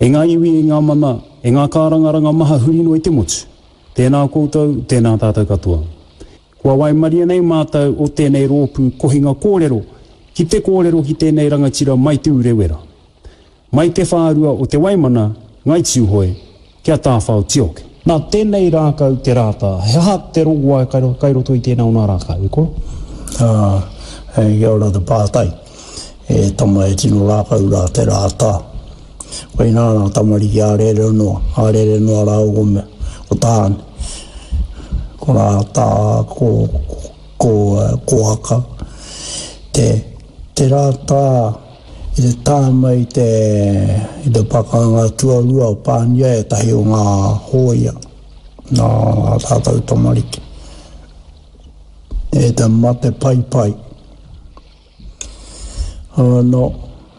E ngā iwi, e ngā mana, e ngā kārangaranga maha huri noa i te motu, tēnā koutou, tēnā tātou katoa. Kua waimaria nei mātou o tēnei rōpū kohinga kōrero ki te kōrero ki tēnei rangatira mai Te Urewera, mai te whārua o Te Waimana, Ngai Tūhoe, ki a Tāwhao Tioke. Nā tēnei rākau te rātā, he aha te rongoā kai roto i tēnā o nā rākau, e koro? Ā, kia ora te pātai. E tama e tino rākau rā te rātā. Koinā nā tamariki a rere noa, a rere noa rāua ko mea, ko Tāne, ko Rātā, ko, ko, ko Aka. Te, te rātā i te tae mai i te, i te pakanga tuarua o Pānia ētahi o ngā hōia, nā ā tātou tamariki. E te mate paipai. Anō,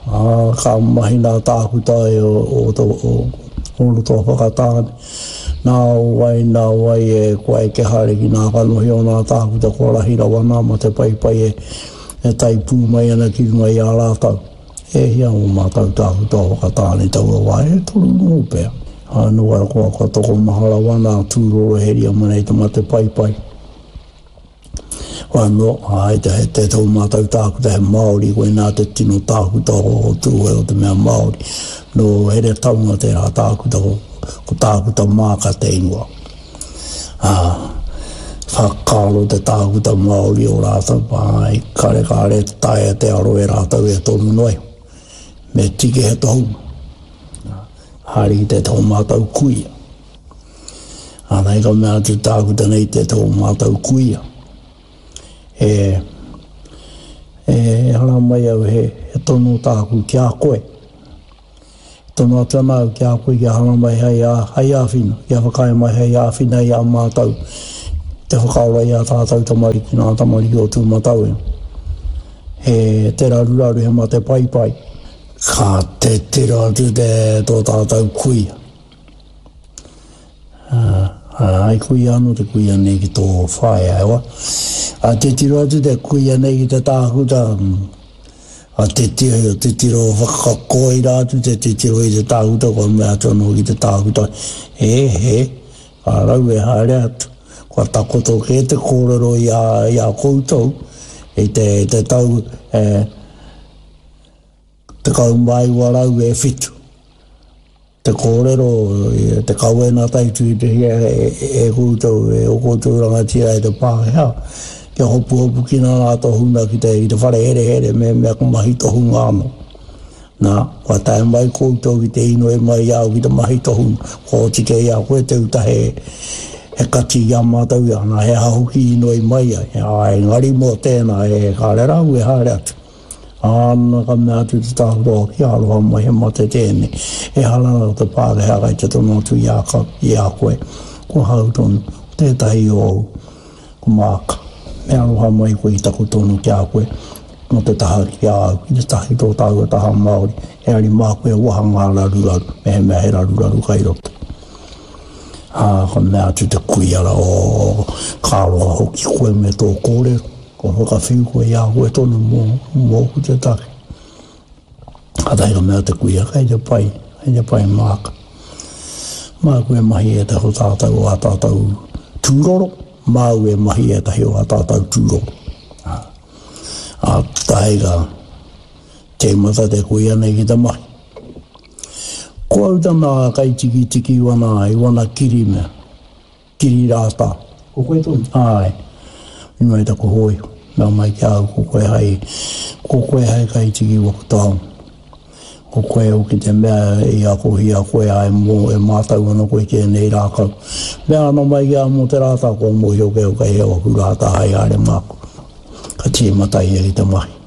ā, ka mahi nā tākuta e o, o, o, o roto o Whakatāne. Nā wai, nā wai e kua eke haere ki nā kanohi o nā tākuta kua rahi rawa nā mate paipai e, e tae pū mai ana ki runga i a rātou. E hia ō mātou tākuta o Whakatāne taua wā, e toru nō pea. Anō, kua, kua tokomaha rawa nā tūroro heria mai nei te mate paipai. Anō, āe, te, te tō mātou tākuta he Māori, koinā te tino tākuta o, o Tūhoe o te mea Māori. Nō Heretaunga tērā tākuta, ko, ko Tākuta Māka te ingoa. Ā, whakaaro te tākuta Māori o rātou, āe, kare kāre taea te aro e rātou e tonu noa iho. Me tiki he tohunga. Haere ki te tō mātou kuia. Ana ka mea atu tākuta nei te tō mātou kuia. E, e hara mai au he, he tono tāku ki a koe. Tono atu ana au ki a koe kia hara mai hei, a, hei āwhina, kia whakaae mai hei āwhina i a mātou te whakaora i a tātou tamariki, nā tamariki o Tūmatauenga. He te raruraru, he mate paipai. Ka te tiro atu te tō tātou kuia. Ai kuia anō te kuia nei ki tō whaea, e wa. A titiro atu te kuia nei ki te tākuta, a titiro, titiro whakakoira atu te titiro i te tākuta, kua mea atu anō ki te tākuta, e he, ka rau e haere atu. Kua takoto kē te kōrero i a, i a koutou, i te, te tau, e, 19 e whitu. Te kōrero, te kawenata i tuhituhia e koutou, e ō koutou rangatira e te Pākehā, kia hopuhopukina ngā tohunga ki te, ki te whare herehere mehemea ka mahi tohunga anō. Nā, kua tae mai koutou ki te inoi mai i a au ki te mahi tohunga, kua oti kē i a koe te uta he, he kati i a mātou, nā, he aha hoki i inoi mai ai, ā, engari mō tēnā, e kāre rā au e haere atu. Āna ka mea atu te tāhuro, Kia aroha mai, he mate tēnei. Ehara nā te Pākehā kai te tono atu i a, i a koe. Ko ahau tonu, ko tētahi o au, ko Māka. Me aroha mai koe i taku tono ki a koe, mō te taha ki a au, ki te taha ki tō tāua taha Māori, engari māku e waha ngā raruraru, mehemea he raruraru kai roto. Ā, ka mea atu te kuia rā, Oh, ka aroha hoki koe me tō kōrero. Kua whakawhiu koe i a koe tonu mō, mōku te take. Kātahi ka mea te kuia, kei te pai, kei te pai māka. Māku e mahi ētahi o tātou o ā tātou tūroro, māu e mahi ētahi o ā tātou tūroro. Ā, ā, tahi ka tīmata te kuia nei ki te mahi. Ko au tana kaitikitiki i wana, i wana kiri mea. Kiri rātā. Ko koe tonu? Āe. I mai taku hōiho. Mea mai ki a au, ko koe hai, ko koe hai kaitiki waku taonga. Ko koe hoki te mea i akohia koe ai mō, e mātau ana koe ki ēnei rākau. Mea ana mai ki a au mō te rātā, kua mōhio kē au kei hea waku rātā hai haere māku. Ka tīmata ia ki te mahi.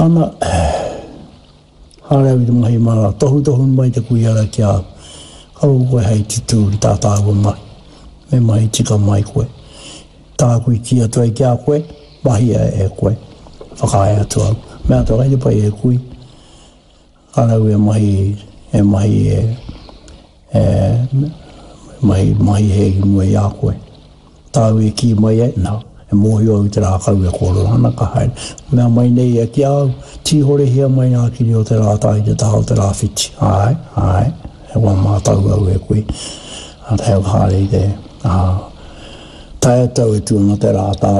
Ana, Haere au i te mahi mara, tohutohu mai te kuia ra ki a au. Kaua koe hei tutū ki tā tāua mahi. Me mahi tika mai koe. Tāku i kī atu ai ki a koe, mahia e koe. Whakaae atu au. Mea atu kei te pai e kui. Kāre au e mahi, e mahi e, e, mahi, mahi hē ki mua i a koe. Tāu e kī mai ai, nā, E mōhio au i te rākau e kōrero ana, ka haere. Mea mai nei ia ki a au, Tīhorehia mai ngā kiri o te rātā i te taha o te rāwhiti. Āe, āe, he wā mātau au e koe. Ā, tae au haere i te, ā, tae atu au e tū ana te rātā,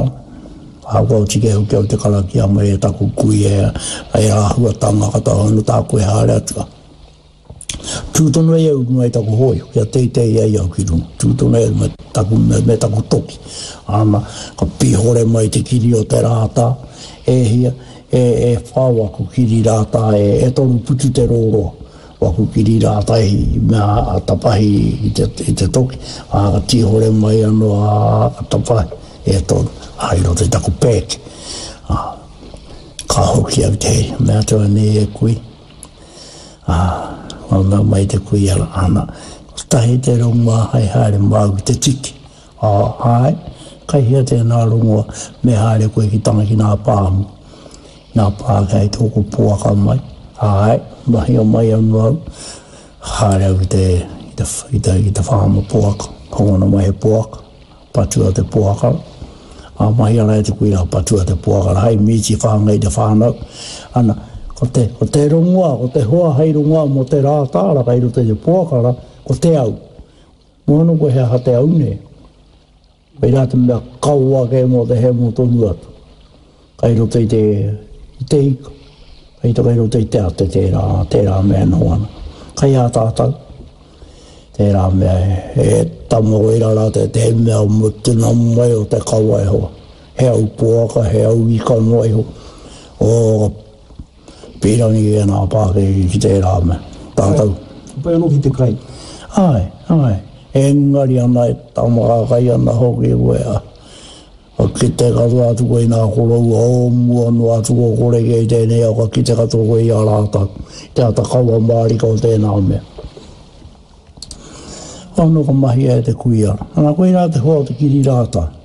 ā, kua oti kē hoki au te karakia mai e taku kuia, e āhuatanga katoa anō tāku e haere atu. Tū tonu ai au i runga i taku hōiho, kia teitei ai au ki runga. Tū tonu ai au me taku, me, me taku toki. Ana, ka pihore mai te kiri o te rātā, e hia, e, e whao aku kiri rātā, e, e toru putu te rōroa. Waku kiri rātā i mea a tapahi i te, i te toki, ā, ka tīhore mai anō, ā, ka tapahi, e toru, ā, i roto i taku pēke. Ā, ka hoki au te heri, mea atu anei e kui, Ā, kua mea mai te kuia, ana, kotahi te rongoā hei haere māu ki te tiki. Ā, āe, kai hea tēnā rongoa, me haere koe ki tanga ki nā pāmu, nā Pākehā i tōku poaka mai. Āe, mahia mai anō au, haere au ki te, ki te, ki te, ki te whāma poaka, hokona mai he poaka. Patua te poakara. Ā, mahi ana e te kuia, patua te poakara hei mīti whāngai i te whānau. Ana, ko te, ko te rongoā, ko te hoa hei rongoā mō te rātāra kei roto i te poakara, ko te au. Mō anō koe he aha te au nei? Koirā te mea kawa kē mō te hemo tonu atu. Kei roto i te, i te ika, kei te, kei roto i te ate tērā, tērā mea e noho ana. Kei a tātou, tērā mea e, e tama koirā rā te, te mea mutuna mai o te kawa e hoa. He au poaka, he au ika noa iho. O, ka pīrangi e nā pākeke ki tērā mea. Tātou. Ka pai anō ki te kai. Āe, āe. Engari ana e tama ka kai ana hoki koe a. Ka kite katoa atu koe i ngā koroua o mua noa atu kua kore kē i tēnei ao, ka kite katoa koe i a rātou, i te ata kawa mārika o tēnā mea. Anō ka mahia e te kuia. Ana koirā te hoa o te kiri rātā.